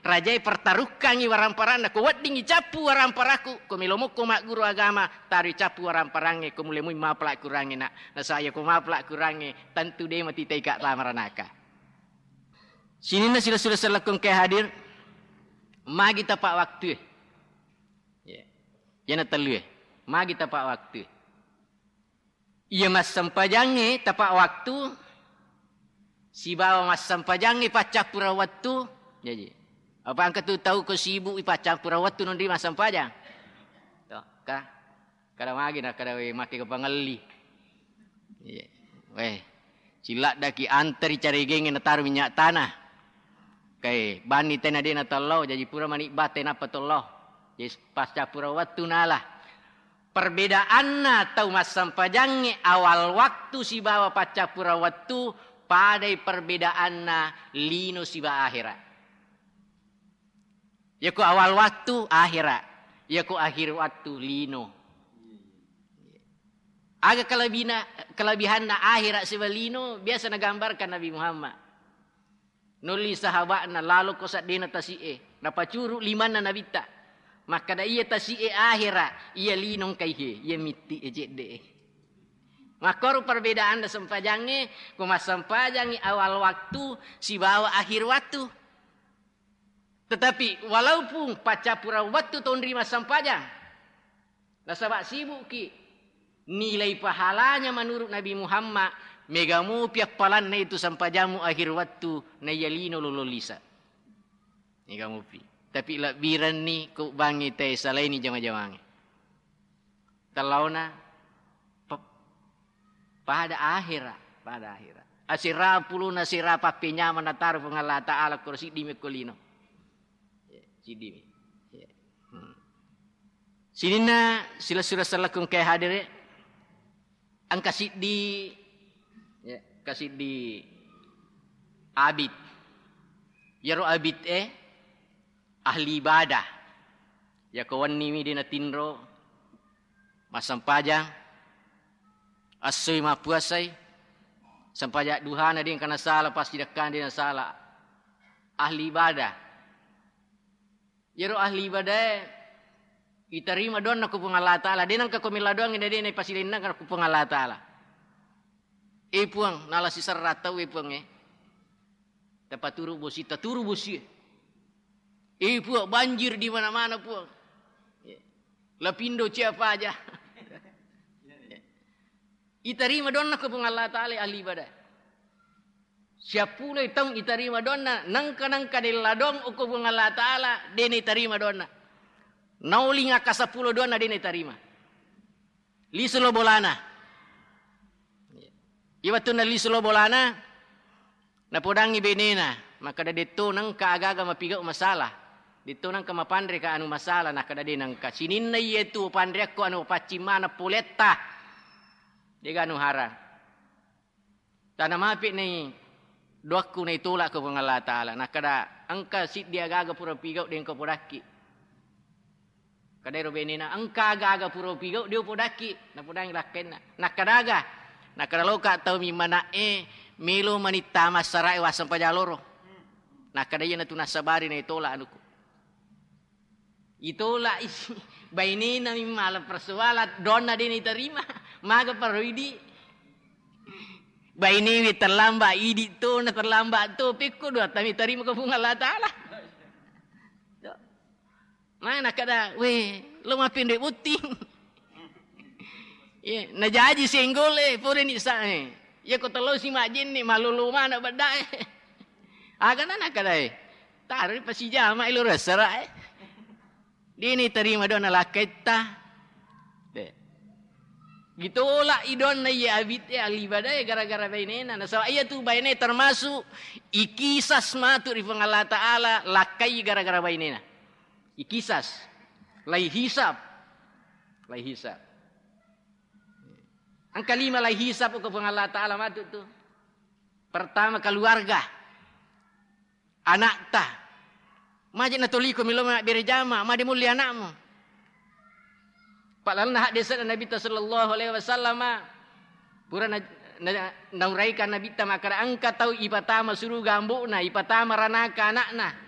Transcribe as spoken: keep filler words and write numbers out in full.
Rajai pertarukkangngi waramparanna, ko weddingngi cappu waramparaku, ko melo mokko magguru agama, taroi cappu waramparangnge, ko mulemui mapela kurangnge, nak. Nasaba iya ko mapela kurangnge, tentu de matitai ka tama ranaka. Sininna sila-sila sellekku engkae hadir, magi tapa waktue. Iya. Iyana tellue, magi tapa waktue. Iya massempajangnge tapa waktu sibawa massempajangnge paccappureng wettu. Jaji, apa engka tu tau ko sibuk i paccappureng wettu nonri massempajang? To, ka-, kada magi na kada we make ko pangelli. Iya. Weh, ciladdaki anteri caregengnge nataru minyak tanah. Kae, banni tena de natello, jaji pura mani ba tenappa tello. Jadi, paccappureng wettu nala. Perbedaanna tau massempajangnge awal waktu sibawa paccappureng wettu, padai perbedaanna lino siba ahera. Yako awal waktu, ahera. Yako akhir waktu, lino. Aga kelebina-, kelebihanna ahera siba lino, biasa nagambarkan Nabi Muhammad. Nolli sahaba'na, "Laloko seddena tasi'e." Napacuru limanna Nabitta. Makkada, "Iya tasi'e ahera, iya lino engkaihe, iya mitti'e cedde'e." Makkoro perbedaanna sempajangnge, ko massempajangngi awal waktu sibawa akhir waktu. Tetapi walaupun paccappureng wettu tonri massempajang, nasaba sibukki, nilai pahalanya menurut Nabi Muhammad mega mopi appalanna itu sempajammu akhir wettu naiya lino lolo lisa. Mega mopi. Tapi lebbirenni ko bangngi te salaini jama-jamangnge. Tellauna pe-, pada ahera, pada ahera. Asera puluna sera pappenyameng nataro Puang Allah Ta'ala koro siddi mekko lino. Ya, siddi mi. Ya. Hmm. Sininna sila-sila sellekku engkae hadere, engka siddi, ya, engka siddi abid. Yaro abid e ahli ibadah. Yako wenni mi de natinro, massempajang, essoi mappuasai, sempajang duhana de engka nasala, passidekkana de nasala. Ahli ibadah. Yero ahli ibadae itarima doanna ko Puang Allah Ta'ala. De nengka ko mella doang de, de na pasilenna ko Puang Allah Ta'ala. E Puang, nala siserra tau e Puang e. Tapaturu bosi, taturu bosi. E Puang, banjir di mana-mana Puang. Lapindo cia paja. Itarima doanna ko Puang Allah Ta'ala ahli ibadah. Siappuloi taung itarima doanna, nengka-nengka della doang okko Puang Allah Ta'ala, de naitarima doanna. Nauling akka seppulo doanna de naitarima. Lisu lo bolana. Iya wettunna lisu lo bolana, napodangngi benena, makkada, "Detto nengka aga-aga mapigau masalah. Detto nengka mapanre ka anu masalah," nakkada, "De nengka. Sininna iyetu panreakko anu paccing maneng poletta. Dega anu harang." Tana mapi nai doakku naitolak ko Puang Allah Ta'ala. Nakkada, "Engka siddi aga-aga pura pigau de engka podakki." Kadairo benena, "Engka aga-aga pura pigau de upodakki." Napodangi lakkainna. Nakkada, "Aga?" Nakkada, "Loka tau mi mana'e melo manitta massara'e wasseng pajaloro." Nakkada, "Iyanatu nassabari naitolak anuku." Itolak isi bainena mi mala persoalan, doanna de naitarima. Maga paro idi? Bainewe terlambat idi to, na terlambat to, pekko doatta mitarima ko Puang Allah Ta'ala. Mana kada, "We, lo mapinre botting." Iya, najaji senggol e, pore ni sa e. Iya ko tello si majenne, malolo mana bedda e. Aga na nakada e. Taro pasijama ilo resera e. Dini tarima doanna lakkaitta. De. Ditolak i doanna iya abit e, ahli ibadah e, gara-gara bainena. Nasaba iya tu baine termasuk ikisas matu ri Puang Allah Ta'ala, lakkai gara-gara bainena. Ikisas. Lai hisab. Lai hisab. Engka lima lai hisab ko Puang Allah Ta'ala matu tu. Pertama, keluarga. Anakta. Maje natoliko melo mabbere jama, made mulli anakmu. Pa'lalenna haddese'na Nabitta sallallahu alaihi wasallama, pura na, na, nauraikan Nabitta makkada, engka tau ipatama suruga ambo'na, ipatama ranaka anakna.